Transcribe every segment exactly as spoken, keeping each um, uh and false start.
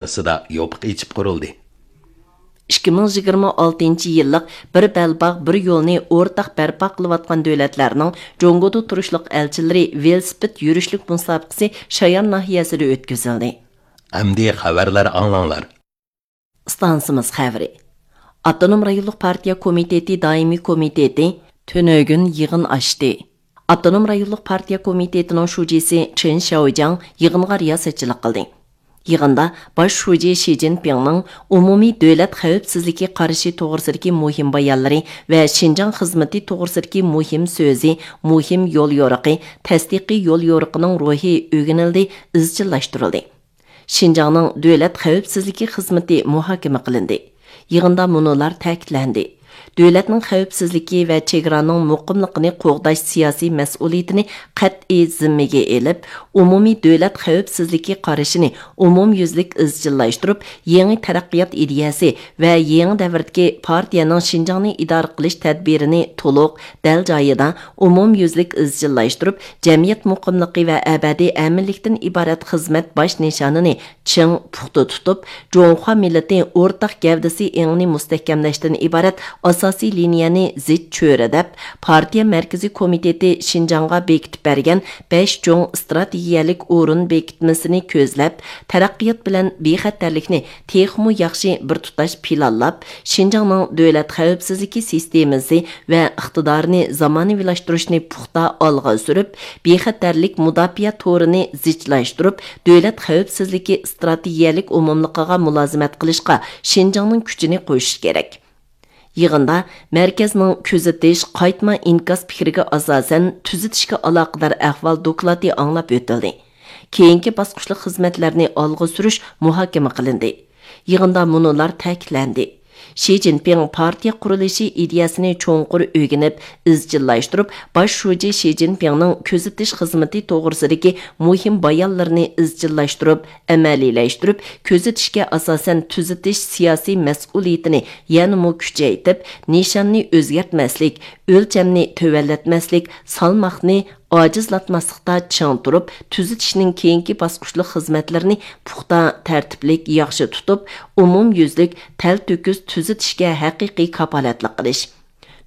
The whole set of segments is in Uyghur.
ئارىسىدا يوپۇق ئېچىپ قۇرۇلدى. ئىككى مىڭ يىگىرمە ئالتىنچى يىللىق بىر بەلباغ، بىر يولنى ئورتاق بەرپا قىلىۋاتقان دۆلەتلەرنىڭ جۇڭگودا تۇرۇشلۇق ئەلچىلىرى ۋېلىسىپىت يۈرۈشلۈك مۇسابىقىسى شايان ناھىيەسىدە ئۆتكۈزۈلدى. ئەمدى خەۋەرلەر ئاڭلاڭلار. ئىستانسىمىز خەۋىرى. ئاپتونوم رايونلۇق پارتىيە كومىتېتى دائىمىي كومىتېتى تۈنۈگۈن يىغىن ئاچتى. ئاپتونوم رايونلۇق پارتىيە كومىتېتىنىڭ شۇجىسى چېن شياۋجياڭ يىغىنغا رىياسەتچىلىك قىلدى. يىغىندا باش شۇجى شى جىنپىڭنىڭ ئومۇمىي دۆلەت خەۋپسىزلىكى قارىشى توغرىسىدىكى مۇھىم بايانلىرى ۋە شىنجاڭ خىزمىتى توغرىسىدىكى مۇھىم سۆزى، مۇھىم يوليورۇقى، تەستىقىي يوليورۇقىنىڭ روھى ئۆگىنىلدى، ئىزچىللاشتۇرۇلدى. شىنجاڭنىڭ دۆلەت خەۋپسىزلىكى خىزمىتى مۇھاكىمە قىلىندى. يىغىندا مۇنۇلار تەكىتلەندى: دۆلەتنىڭ خەۋپسىزلىكى ۋە چېگرانىڭ مۇقىملىقىنى قوغداش سىياسىي مەسئۇلىيىتىنى قەتئىي زىممىگە ئېلىپ، ئومۇمىي دۆلەت خەۋپسىزلىكى قارىشىنى ئومۇميۈزلۈك ئىزچىللاشتۇرۇپ، يېڭى تەرەققىيات ئىدىيەسى ۋە يېڭى دەۋردىكى پارتىيەنىڭ شىنجاڭنى ئىدارە قىلىش تەدبىرىنى تولۇق، دەل جايىدا، ئومۇميۈزلۈك ئىزچىللاشتۇرۇپ، جەمئىيەت مۇقىملىقى ۋە ئەبەدىي ئەمىنلىكتىن ئىبارەت خىزمەت باش نىشانىنى چىڭ، پۇختا تۇتۇپ، جۇڭخۇا مىللىتى ئورتاق گەۋدىسى ئېڭىنى مۇستەھكەملەشتىن ئىبارەت ئاساسىي لىنىيەنى زىچ چۆرىدەپ، پارتىيە مەركىزىي كومىتېتى شىنجاڭغا بېكىتىپ بەرگەن بەش چوڭ ئىستراتېگىيەلىك ئورۇن بېكىتمىسىنى كۆزلەپ، تەرەققىيات بىلەن بىخەتەرلىكنى تېخىمۇ ياخشى بىر تۇتاش پىلانلاپ، شىنجاڭنىڭ دۆلەت خەۋپسىزلىكى سىستېمىسى ۋە ئىقتىدارىنى زامانىۋىلاشتۇرۇشنى پۇختا ئالغا سۈرۈپ، بىخەتەرلىك مۇداپىئە تورىنى زىچلاشتۇرۇپ، دۆلەت خەۋپسىزلىكى ئىستراتېگىيەلىك ئومۇملۇقىغا مۇلازىمەت قىلىشقا شىنجاڭنىڭ كۈچىنى قوشۇش كېرەك. يىغىندا مەركەزنىڭ كۆزىتىش، قايتما ئىنكاس پىكرىگە ئاساسەن تۈزىتىشكە ئالاقىدار ئەھۋال دوكلاتى ئاڭلاپ ئۆتۈلدى. كېيىنكى باسقۇچلۇق خىزمەتلەرنى ئالغا سۈرۈش مۇھاكىمە قىلىندى. يىغىندا مۇنۇلار تەكىتلەندى: شى جىنپىڭ پارتىيە قۇرۇلۇشى ئىدىيەسىنى چوڭقۇر ئۆگىنىپ، ئىزچىللاشتۇرۇپ، باش شۇجى شى جىنپىڭنىڭ كۆزىتىش خىزمىتى توغرىسىدىكى مۇھىم بايانلىرىنى ئىزچىللاشتۇرۇپ، ئەمەلىيلەشتۈرۈپ، كۆزىتىشكە ئاساسەن تۈزىتىش سىياسىي مەسئۇلىيىتىنى يەنىمۇ كۈچەيتىپ، نىشاننى ئۆزگەرتمەسلىك، ئۆلچەمنى تۆۋەنلەتمەسلىك، سالماقنى ئاجىزلاتماسلىقتا چىڭ تۇرۇپ، تۈزىتىشنىڭ كېيىنكى باسقۇچلۇق خىزمەتلىرىنى پۇختا، تەرتىپلىك، ياخشى تۇتۇپ، ئومۇميۈزلۈك، تەلتۆكۈس تۈزىتىشكە ھەقىقىي كاپالەتلىك قىلىش.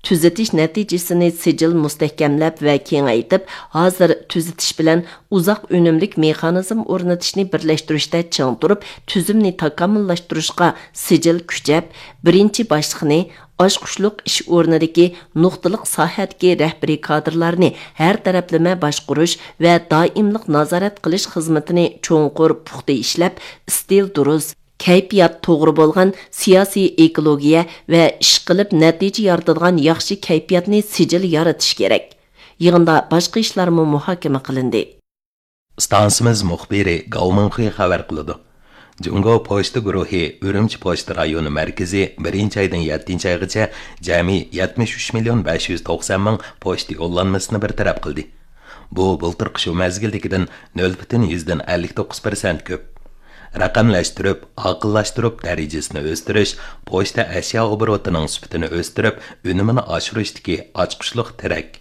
تۈزىتىش نەتىجىسىنى سىجىل مۇستەھكەملەپ ۋە كېڭەيتىپ، ھازىر تۈزىتىش بىلەن ئۇزاق ئۈنۈملۈك مېخانىزم ئورنىتىشنى بىرلەشتۈرۈشتە چىڭ تۇرۇپ، تۈزۈمنى تاكامۇللاشتۇرۇشقا سىجىل كۈچەپ، بىرىنچى باشلىقنى، ئاچقۇچلۇق ئىش ئورنىدىكى نۇقتىلىق ساھەدىكى رەھبىرىي كادىرلارنى ھەر تەرەپلىمە باشقۇرۇش ۋە دائىملىق نازارەت قىلىش خىزمىتىنى چوڭقۇر پۇختا ئىشلەپ، ئىستىل دۇرۇس، كەيپىيات توغرا بولغان سىياسىي ئېكولوگىيە ۋە ئىشقىلىپ نەتىجە يارىتىدىغان ياخشى كەيپىياتنى سىجىل يارىتىش كېرەك. يىغىندا باشقا ئىشلارمۇ مۇھاكىمە قىلىندى. ئىستانسىمىز مۇخبىرى گاۋ مىڭخې خەۋەر قىلىدۇ. جۇڭگو پوچتا گۇرۇھى ئۈرۈمچى پوچتا رايونى مەركىزى بىرىنچى ئايدىن يەتتىنچى ئايغىچە جەمئىي يەتمىش ئۈچ مىليون بەش يۈز توقسان مىڭ پوچتا يوللانمىسىنى بىر تەرەپ قىلدى. بۇ بۇلتۇرقى شۇ مەزگىلدىكىدىن نۆل پۈتۈن يۈزدىن ئەللىك توققۇز پىرسەنت كۆپ. رەقەملەشتۈرۈپ، ئاقىللاشتۇرۇپ، دەرىجىسىنى ئۆستۈرۈش، پوچتا ئەشيا ئوبوروتىنىڭ سۈپىتىنى ئۆستۈرۈپ، ئۈنۈمىنى ئاشۇرۇشتىكى ئاچقۇچلۇق تىرەك.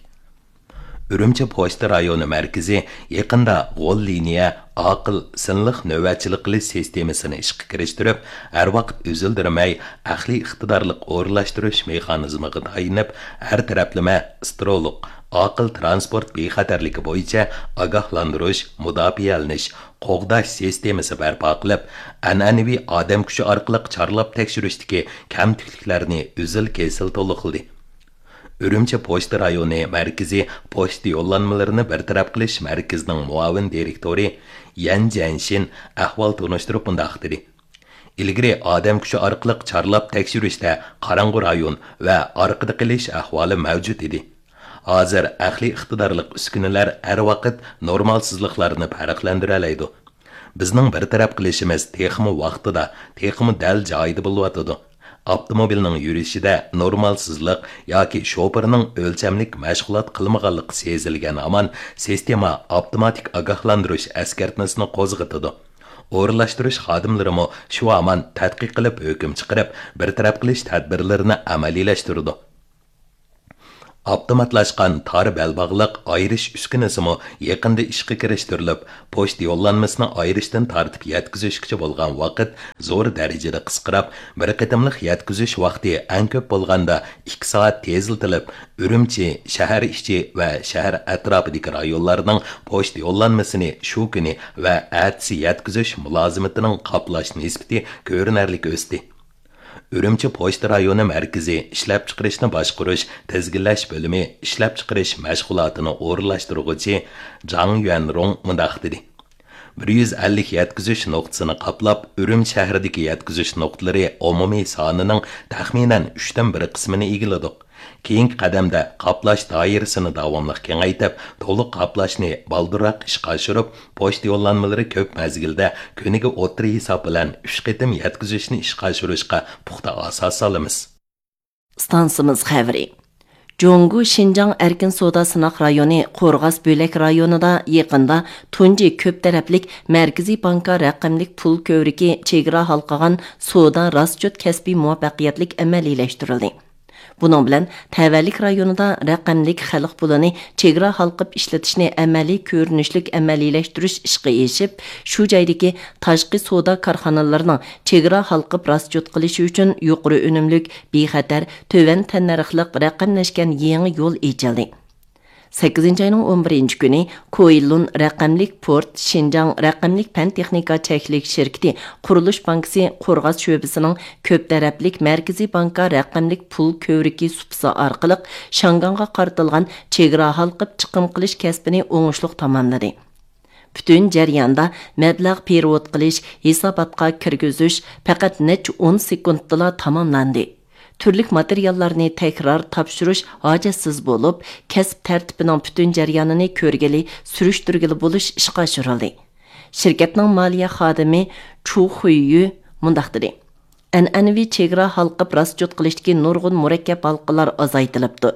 ئۈرۈمچى پوچتا رايونى مەركىزى يېقىندا غول لىنىيە ئاقىل سىنلىق نۆۋەتچىلىك قىلىش سىستېمىسىنى ئىشقا كىرىشتۈرۈپ، ھەر ۋاقىت ئۈزۈلدۈرمەي ئەقلىي ئىقتىدارلىق ئورۇنلاشتۇرۇش مېخانىزمىغا تايىنىپ، ھەر تەرەپلىمە ئىسترولۇق، ئاقىل تىرانسپورت بىخەتەرلىكى بويىچە ئاگاھلاندۇرۇش، مۇداپىئەلىنىش، قوغداش سىستېمىسى بەرپا قىلىپ، ئەنئەنىۋى ئادەم كۈچى ئارقىلىق چارلاپ تەكشۈرۈشتىكى كەمتۈكلۈكلەرنى ئۈزۈل-كېسىل تولۇقلىدى. ئۈرۈمچى پوچتا رايونى مەركىزى پوچتا يوللانمىلىرىنى بىر تەرەپ قىلىش مەركىزىنىڭ مۇئاۋىن دىرېكتورى يەن جيەنشىن ئەھۋال تونۇشتۇرۇپ مۇنداق دېدى: ئىلگىرى ئادەم كۈچى ئارقىلىق چارلاپ تەكشۈرۈشتە قاراڭغۇ رايون ۋە ئارقىدا قېلىش ئەھۋالى مەۋجۇت ئىدى. ھازىر ئەقلىي ئىقتىدارلىق ئۈسكۈنىلەر ھەر ۋاقىت نورمالسىزلىقلارنى پەرقلەندۈرەلەيدۇ. بىزنىڭ بىر تەرەپ قىلىشىمىز تېخىمۇ ۋاقتىدا، تېخىمۇ دەل جايىدا بولۇۋاتىدۇ. ئاپتوموبىلنىڭ يۈرۈشىدە نورمالسىزلىق ياكى شوپۇرنىڭ ئۆلچەملىك مەشغۇلات قىلمىغانلىقى سېزىلگەن ھامان، سىستېما ئاپتوماتىك ئاگاھلاندۇرۇش ئەسكەرتمىسىنى قوزغىتىدۇ. ئورۇنلاشتۇرۇش خادىملىرىمۇ شۇ ھامان تەتقىق قىلىپ ھۆكۈم چىقىرىپ، بىر تەرەپ قىلىش تەدبىرلىرىنى ئەمەلىيلەشتۈرىدۇ. ئاپتوماتلاشقان تار بەلباغلىق ئايرىش ئۈسكۈنىسىمۇ يېقىندا ئىشقا كىرىشتۈرۈلۈپ، پوچتا يوللانمىسىنى ئايرىشتىن تارتىپ يەتكۈزۈشكىچە بولغان ۋاقىت زور دەرىجىدە قىسقىراپ، بىر قېتىملىق يەتكۈزۈش ۋاقتى ئەڭ كۆپ بولغاندا ئىككى سائەت تېزلىتىلىپ، ئۈرۈمچى، شەھەر ئىچى ۋە شەھەر ئەتراپىدىكى رايونلارنىڭ پوچتا يوللانمىسىنى شۇ كۈنى ۋە ئەتىسى يەتكۈزۈش مۇلازىمىتىنىڭ قاپلاش نىسبىتى كۆرۈنەرلىك ئۆستى. ئۈرۈمچى پوچتا رايونى مەركىزى ئىشلەپچىقىرىشنى باشقۇرۇش، تىزگىنلەش بۆلۈمى ئىشلەپچىقىرىش مەشغۇلاتىنى ئورۇنلاشتۇرغۇچى جاڭ يۈەنرۇڭ مۇنداق دېدى: بىر يۈز ئەللىك يەتكۈزۈش نۇقتىسىنى قاپلاپ، ئۈرۈمچى شەھىرىدىكى يەتكۈزۈش نۇقتىلىرى ئومۇمىي سانىنىڭ تەخمىنەن ئۈچتىن بىر قىسمىنى ئىگىلىدۇق. كېيىنكى قەدەمدە قاپلاش دائىرىسىنى داۋاملىق كېڭەيتىپ، تولۇق قاپلاشنى بالدۇرراق ئىشقا ئاشۇرۇپ، پوچتا يوللانمىلىرى كۆپ مەزگىلدە كۈنىگە ئوتتۇرا ھېساب بىلەن ئۈچ قېتىم يەتكۈزۈشنى ئىشقا ئاشۇرۇشقا پۇختا ئاساس سالىمىز. ئىستانسىمىز خەۋىرى. جۇڭگو شىنجاڭ ئەركىن سودا سىناق رايونى قورغاس بۆلەك رايونىدا يېقىندا تۇنجى كۆپ تەرەپلىك مەركىزىي بانكا رەقەملىك پۇل كۆۋرۈكى چېگرا ھالقىغان سودا راسچوت كەسپى مۇۋەپپەقىيەتلىك ئەمەلىيلەشتۈرۈلدى. بۇنىڭ بىلەن تەۋەلىك رايونىدا رەقەملىك خەلق پۇلىنى چېگرا ھالقىپ ئىشلىتىشنى ئەمەلىي كۆرۈنۈشلۈك ئەمەلىيلەشتۈرۈش ئىشقا ئېشىپ، شۇ جايدىكى تاشقى سودا كارخانىلىرىنىڭ چېگرا ھالقىپ راسچوت قىلىشى ئۈچۈن يۇقىرى ئۈنۈملۈك، بىخەتەر، تۆۋەن تەننەرخلىق رەقەملەشكەن يېڭى يول ئېچىلدى. سەككىزىنچى ئاينىڭ ئون بىرىنچى كۈنى كوئىلۇن رەقەملىك پورت شىنجاڭ رەقەملىك پەن تېخنىكا چەكلىك شىركىتى قۇرۇلۇش بانكىسى قورغاس شۆبىسىنىڭ كۆپ تەرەپلىك مەركىزىي بانكا رەقەملىك پۇل كۆۋرۈكى سۇپىسى ئارقىلىق شياڭگاڭغا قارىتىلغان چېگرا ھالقىپ چىقىم قىلىش كەسپىنى ئوڭۇشلۇق تاماملىدى. پۈتۈن جەرياندا مەبلەغ پېرېۋوت قىلىش، ھېساباتقا كىرگۈزۈش پەقەت نەچچە ئون سېكۇنتتىلا تاماملاندى. تۈرلۈك ماتېرىياللارنى تەكرار تاپشۇرۇش ھاجەتسىز بولۇپ، كەسىپ تەرتىپىنىڭ پۈتۈن جەريانىنى كۆرگىلى، سۈرۈشتۈرگىلى بولۇش ئىشقا ئاشۇرۇلدى. شىركەتنىڭ مالىيە خادىمى چۇ خۇييۈ مۇنداق دېدى: ئەنئەنىۋى چېگرا ھالقىپ راسچوت قىلىشتىكى نۇرغۇن مۇرەككەپ ھالقىلار ئازايتىلىپتۇ.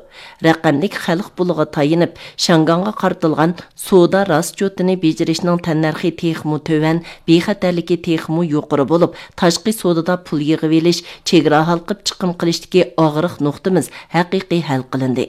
رەقەملىك خەلق پۇلىغا تايىنىپ، شياڭگاڭغا قارىتىلغان سودا راسچوتىنى بېجىرىشنىڭ تەننەرخى تېخىمۇ تۆۋەن، بىخەتەرلىكى تېخىمۇ يۇقىرى بولۇپ، تاشقى سودىدا پۇل يىغىۋېلىش، چېگرا ھالقىپ چىقىم قىلىشتىكى ئاغرىق نۇقتىمىز ھەقىقىي ھەل قىلىندى.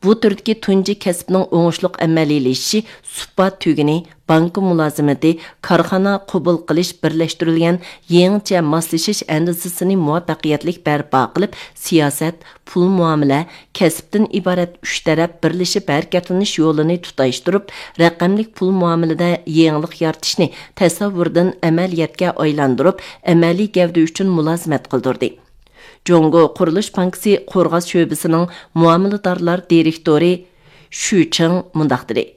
بۇ تۈردىكى تۇنجى كەسىپنىڭ ئوڭۇشلۇق ئەمەلىيلىشىشى سۇپا تۈگۈنى، بانكا مۇلازىمىتى، كارخانا قوبۇل قىلىش بىرلەشتۈرۈلگەن يېڭىچە ماسلىشىش ئەندىزىسىنى مۇۋەپپەقىيەتلىك بەرپا قىلىپ، سىياسەت، پۇل مۇئامىلە، كەسىپتىن ئىبارەت ئۈچ تەرەپ بىرلىشىپ ھەرىكەتلىنىش يولىنى تۇتاشتۇرۇپ، رەقەملىك پۇل مۇئامىلىدە يېڭىلىق يارىتىشنى تەسەۋۋۇردىن ئەمەلىيەتكە ئايلاندۇرۇپ، ئەمەلىي گەۋدە ئۈچۈن مۇلازىمەت قىلدۇردى. جۇڭگو قۇرۇلۇش بانكىسى قورغاس شۆبىسىنىڭ مۇئامىلىدارلار دىرېكتورى شۈ چىڭ مۇنداق دېدى: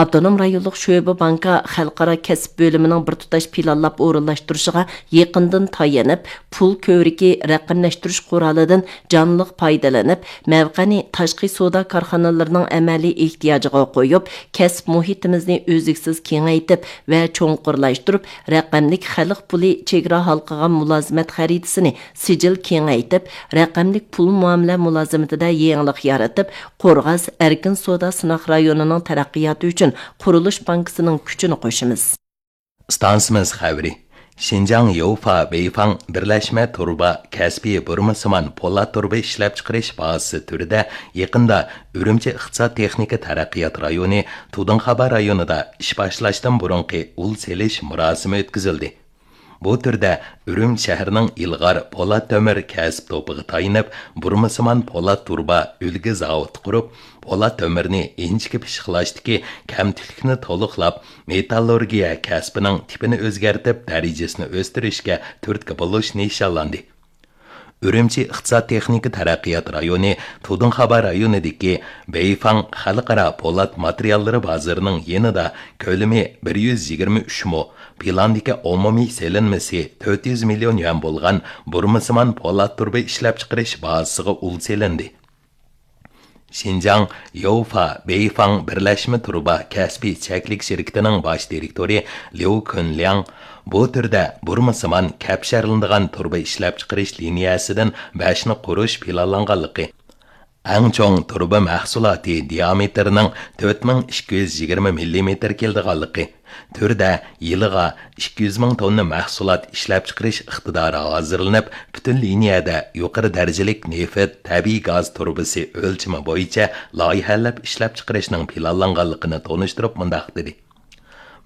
ئاپتونوم رايونلۇق شۆبە بانكا خەلقئارا كەسىپ بۆلۈمىنىڭ بىر تۇتاش پىلانلاپ ئورۇنلاشتۇرۇشىغا يېقىندىن تايىنىپ، پۇل كۆۋرۈكى رەقەملەشتۈرۈش قورالىدىن جانلىق پايدىلىنىپ، مەۋقەنى تاشقى سودا كارخانىلىرىنىڭ ئەمەلىي ئېھتىياجىغا قويۇپ، كەسىپ مۇھىتىمىزنى ئۈزلۈكسىز كېڭەيتىپ ۋە چوڭقۇرلاشتۇرۇپ، رەقەملىك خەلق پۇلى چېگرا ھالقىغان مۇلازىمەت خەرىتىسىنى سىجىل كېڭەيتىپ، رەقەملىك پۇل مۇئامىلە مۇلازىمىتىدە يېڭىلىق يارىتىپ، قورغاس ئەركىن سودا سىناق رايونىنىڭ تەرەققىياتى ئۈچۈن قۇرۇلۇش بانكىسىنىڭ كۈچىنى قوشىمىز. ئىستانسىمىز خەۋىرى. شىنجاڭ يوفا بېيفاڭ بىرلەشمە تۇرۇبا كەسپىي بۇرمىسىمان پولات تۇرۇبا ئىشلەپچىقىرىش بازىسى تۈرىدە يېقىندا ئۈرۈمچى ئىقتىساد تېخنىكا تەرەققىيات رايونى تۇدۇڭخابا رايونىدا ئىش باشلاشتىن بۇرۇنقى ئۇل سېلىش مۇراسىمى ئۆتكۈزۈلدى. بۇ تۈردە ئۈرۈمچى شەھىرىنىڭ ئىلغار پولات تۆمۈر كەسىپ توپىغا تايىنىپ، بۇرمىسىمان پولات تۇرۇبا ئۈلگە زاۋۇتى قۇرۇپ، پولات تۆمۈرنى ئىنچىكە پىششىقلاشتىكى كەمتۈكلۈكنى تولۇقلاپ، مېتاللورگىيە كەسپىنىڭ تىپىنى ئۆزگەرتىپ، دەرىجىسىنى ئۆستۈرۈشكە تۈرتكە بولۇش نىشانلاندى. ئۈرۈمچى ئىقتىساد تېخنىكا تەرەققىيات رايونى تۇدۇڭخابا رايونىدىكى بېيفاڭ خەلقئارا پولات ماتېرىياللىرى بازىرىنىڭ يېنىدا كۆلىمى بىر يۈز يىگىرمە ئۈچ مو، پىلاندىكى ئومۇمىي سېلىنمىسى تۆت يۈز مىليون يۈەن بولغان بۇرمىسىمان پولات تۇرۇبا ئىشلەپچىقىرىش بازىسىغا ئۇل سېلىندى. شىنجاڭ يوفا بېيفاڭ بىرلەشمە تۇرۇبا كەسپىي چەكلىك شىركىتىنىڭ باش دىرېكتورى ليۇ كۈنلياڭ بۇ تۈردە بۇرمىسىمان كەپشەرلىنىدىغان تۇرۇبا ئىشلەپچىقىرىش لىنىيەسىدىن بەشنى قۇرۇش پىلانلانغانلىقى، ئەڭ چوڭ تۇرۇبا مەھسۇلاتى دىيامېتىرىنىڭ تۆت مىڭ ئىككى يۈز يىگىرمە مىللىمېتىر كېلىدىغانلىقى، تۈردە يىلىغا ئىككى يۈز مىڭ توننا مەھسۇلات ئىشلەپچىقىرىش ئىقتىدارى ھازىرلىنىپ، پۈتۈن لىنىيەدە يۇقىرى دەرىجىلىك نېفىت، تەبىئىي گاز تۇرۇبىسى ئۆلچىمى بويىچە لايىھەلەپ ئىشلەپچىقىرىشنىڭ پىلانلانغانلىقىنى تونۇشتۇرۇپ مۇنداق دېدى: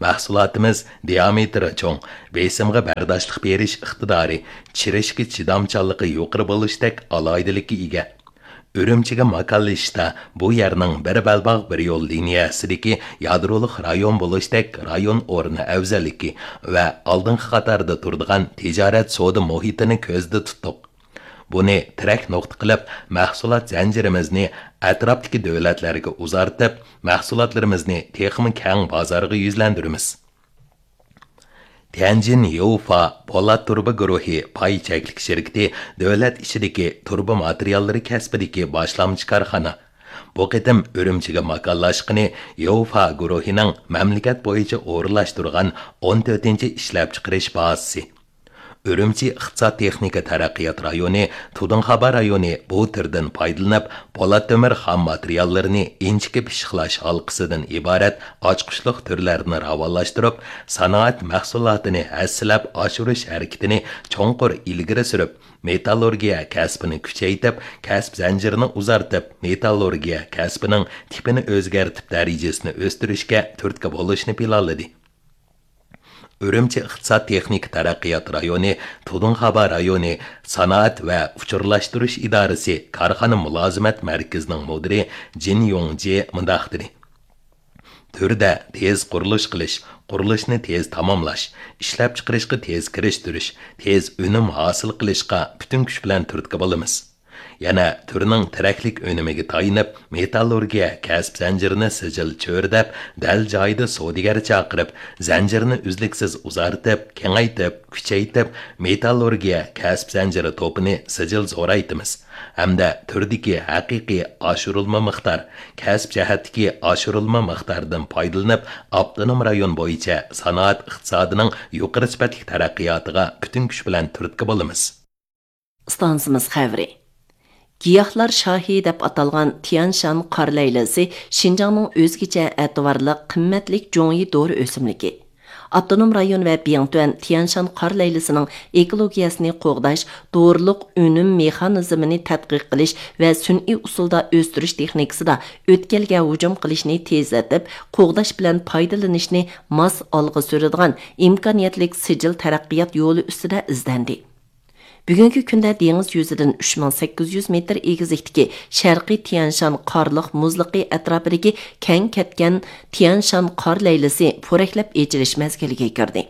مەھسۇلاتىمىز دىيامېتىرى چوڭ، بېسىمغا بەرداشلىق بېرىش ئىقتىدارى، چىرىشكە چىدامچانلىقى يۇقىرى بولۇشتەك ئالاھىدىلىككە ئىگە. ئۈرۈمچىگە ماكانلىشىشتا بۇ يەرنىڭ بىر بەلباغ بىر يول لىنىيەسىدىكى يادرولۇق رايون بولۇشتەك رايون ئورنى ئەۋزەللىكى ۋە ئالدىنقى قاتاردا تۇرىدىغان تىجارەت سودا مۇھىتىنى كۆزدە تۇتتۇق. بۇنى تىرەك نۇقتا قىلىپ، مەھسۇلات زەنجىرىمىزنى ئەتراپتىكى دۆلەتلەرگە ئۇزارتىپ، مەھسۇلاتلىرىمىزنى تېخىمۇ كەڭ بازارغا يۈزلەندۈرىمىز. تيەنجىن يوفا پولات تۇرۇبا گۇرۇھى پاي چەكلىك شىركىتى دۆلەت ئىچىدىكى تۇرۇبا ماتېرىياللىرى كەسپىدىكى باشلامچى كارخانا. بۇ قېتىم ئۈرۈمچىگە ماكانلاشقىنى يوفا گۇرۇھىنىڭ مەملىكەت بويىچە ئورۇنلاشتۇرغان ئون تۆتىنچى ئىشلەپچىقىرىش بازىسى. ئۈرۈمچى ئىقتىساد تېخنىكا تەرەققىيات رايونى تۇدۇڭخابا رايونى بۇ تۈردىن پايدىلىنىپ، پولات تۆمۈر خام ماتېرىياللىرىنى ئىنچىكە پىششىقلاش ھالقىسىدىن ئىبارەت ئاچقۇچلۇق تۈرلەرنى راۋانلاشتۇرۇپ، سانائەت مەھسۇلاتىنى ھەسسىلەپ ئاشۇرۇش ھەرىكىتىنى چوڭقۇر ئىلگىرى سۈرۈپ، مېتاللۇرگىيە كەسپىنى كۈچەيتىپ، كەسىپ زەنجىرىنى ئۇزارتىپ، مېتاللۇرگىيە كەسپىنىڭ تىپىنى ئۆزگەرتىپ، دەرىجىسىنى ئۆستۈرۈشكە تۈرتكە بولۇشنى پىلانلىدى. ئۈرۈمچى ئىقتىساد تېخنىكا تەرەققىيات رايونى، تۇدۇڭخابا رايونى سانائەت ۋە ئۇچۇرلاشتۇرۇش ئىدارىسى كارخانا مۇلازىمەت مەركىزىنىڭ مۇدىرى جىن يۇڭجى مۇنداق دېدى: تۈردە تېز قۇرۇلۇش قىلىش، قۇرۇلۇشنى تېز تاماملاش، ئىشلەپچىقىرىشقا تېز كىرىشتۈرۈش، تېز ئۈنۈم ھاسىل قىلىشقا پۈتۈن كۈچ بىلەن تۈرتكە بولىمىز. يەنە تۈرنىڭ تىرەكلىك ئۈنۈمىگە تايىنىپ، مېتاللۇرگىيە كەسىپ زەنجىرىنى سىجىل چۆرىدەپ، دەل جايىدا سودىگەر چاقىرىپ، زەنجىرنى ئۈزلۈكسىز ئۇزارتىپ، كېڭەيتىپ، كۈچەيتىپ، مېتاللۇرگىيە كەسىپ زەنجىرى توپىنى سىجىل زورايتىمىز ھەمدە تۈردىكى ھەقىقىي ئاشۇرۇلما مىقدار، كەسىپ جەھەتتىكى ئاشۇرۇلما مىقداردىن پايدىلىنىپ، ئاپتونوم رايون بويىچە سانائەت ئىقتىسادىنىڭ يۇقىرى سۈپەتلىك تەرەققىياتىغا پۈتۈن كۈچ بىلەن تۈرتكە بولىمىز. ئىستانسىمىز خەۋىرى. گىياھلار شاھى دەپ ئاتالغان تيانشان قار لەيلىسى شىنجاڭنىڭ ئۆزگىچە ئەتىۋارلىق قىممەتلىك جۇڭيى دورا ئۆسۈملۈكى. ئاپتونوم رايون ۋە بىڭتۈەن تيانشان قار لەيلىسىنىڭ ئېكولوگىيەسىنى قوغداش، دورىلىق ئۈنۈم مېخانىزمىنى تەتقىق قىلىش ۋە سۈنئىي ئۇسۇلدا ئۆستۈرۈش تېخنىكىسىدا ئۆتكەلگە ھۇجۇم قىلىشنى تېزلىتىپ، قوغداش بىلەن پايدىلىنىشنى ماس ئالغا سۈرىدىغان ئىمكانىيەتلىك سىجىل تەرەققىيات يولى ئۈستىدە ئىزدەندى. بۈگۈنكى كۈندە دېڭىز يۈزىدىن ئۈچ مىڭ سەككىز يۈز مېتىر ئېگىزلىكتىكى شەرقىي تيانشان قارلىق مۇزلۇقى ئەتراپىدىكى كەڭ كەتكەن تيانشان قار لەيلىسى پورەكلەپ ئېچىلىش مەزگىلىگە كىردى.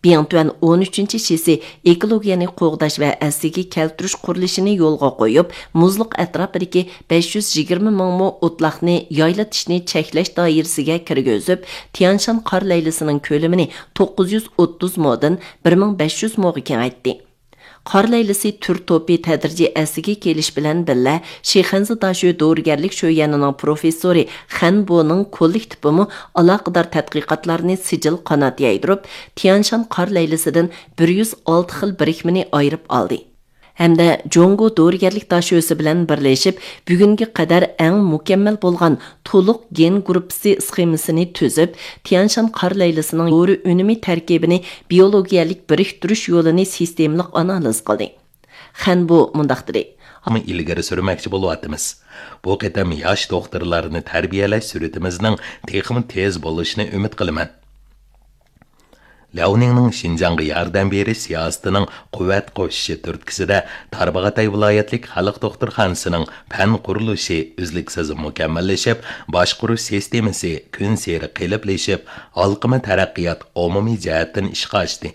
بىڭتۈەن ئون ئۈچىنچى شىسى ئېكولوگىيەنى قوغداش ۋە ئەسلىگە كەلتۈرۈش قۇرۇلۇشىنى يولغا قويۇپ، مۇزلۇق ئەتراپىدىكى بەش يۈز يىگىرمە مىڭ مو ئوتلاقنى يايلىتىشنى چەكلەش دائىرىسىگە كىرگۈزۈپ، تيانشان قار لەيلىسىنىڭ كۆلىمىنى توققۇز يۈز ئوتتۇز مودىن بىر مىڭ بەش يۈز موغا كېڭەيتتى. قار لەيلىسى تۈر توپى تەدرىجىي ئەسلىگە كېلىش بىلەن بىللە، شىخەنزە داشۆ دورىگەرلىك شۆيۈەنىنىڭ پروفېسسورى خەن بونىڭ كوللېكتىپىمۇ ئالاقىدار تەتقىقاتلارنى سىجىل قانات يايدۇرۇپ، تيانشان قار لەيلىسىدىن بىر يۈز ئالتە خىل بىرىكمىنى ئايرىپ ئالدى. ھەمدە جۇڭگو دورىگەرلىك داشۆسى بىلەن بىرلىشىپ، بۈگۈنگە قەدەر ئەڭ مۇكەممەل بولغان تولۇق گېن گۇرۇپپىسى سخېمىسىنى تۈزۈپ، تيانشان قار لەيلىسىنىڭ دورا ئۈنۈمى تەركىبىنى بىيولوگىيەلىك بىرىكتۈرۈش يولىنى سىستېمىلىق ئانالىز قىلدى. خەن بۇ مۇنداق دېدى. ئىلگىرى سۈرمەكچى بولۇۋاتىمىز. بۇ قېتىم ياش دوختۇرلارنى تەربىيەلەش سۈرئىتىمىزنىڭ تېخىمۇ تېز بولۇشىنى ئۈمىد قىلىمەن. لياۋنىڭنىڭ شىنجاڭغا ياردەم بېرىش سىياسىتىنىڭ قۇۋۋەت قوشۇشى تۈرتكىسىدە، تارباغاتاي ۋىلايەتلىك خەلق دوختۇرخانىسىنىڭ پەن قۇرۇلۇشى ئۈزلۈكسىز مۇكەممەللىشىپ، باشقۇرۇش سىستېمىسى كۈنسېرى قېلىپلىشىپ، ھالقىما تەرەققىيات ئومۇمىي جەھەتتىن ئىشقا ئاشتى.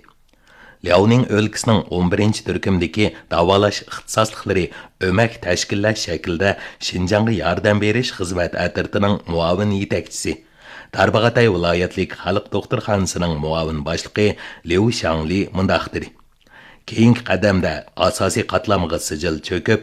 لياۋنىڭ ئۆلكىسىنىڭ ئون بىرىنچى تۈركۈمدىكى داۋالاش ئىختىساسلىقلىرى ئۆمەك تەشكىللەش شەكلىدە شىنجاڭغا ياردەم بېرىش خىزمەت ئەترىتىنىڭ مۇئاۋىن يېتەكچىسى، تارباغاتاي ۋىلايەتلىك خەلق دوختۇرخانىسىنىڭ مۇئاۋىن باشلىقى ليۇ شاڭلى مۇنداق دېدى: كېيىنكى قەدەمدە ئاساسىي قاتلامغا سىجىل چۆكۈپ،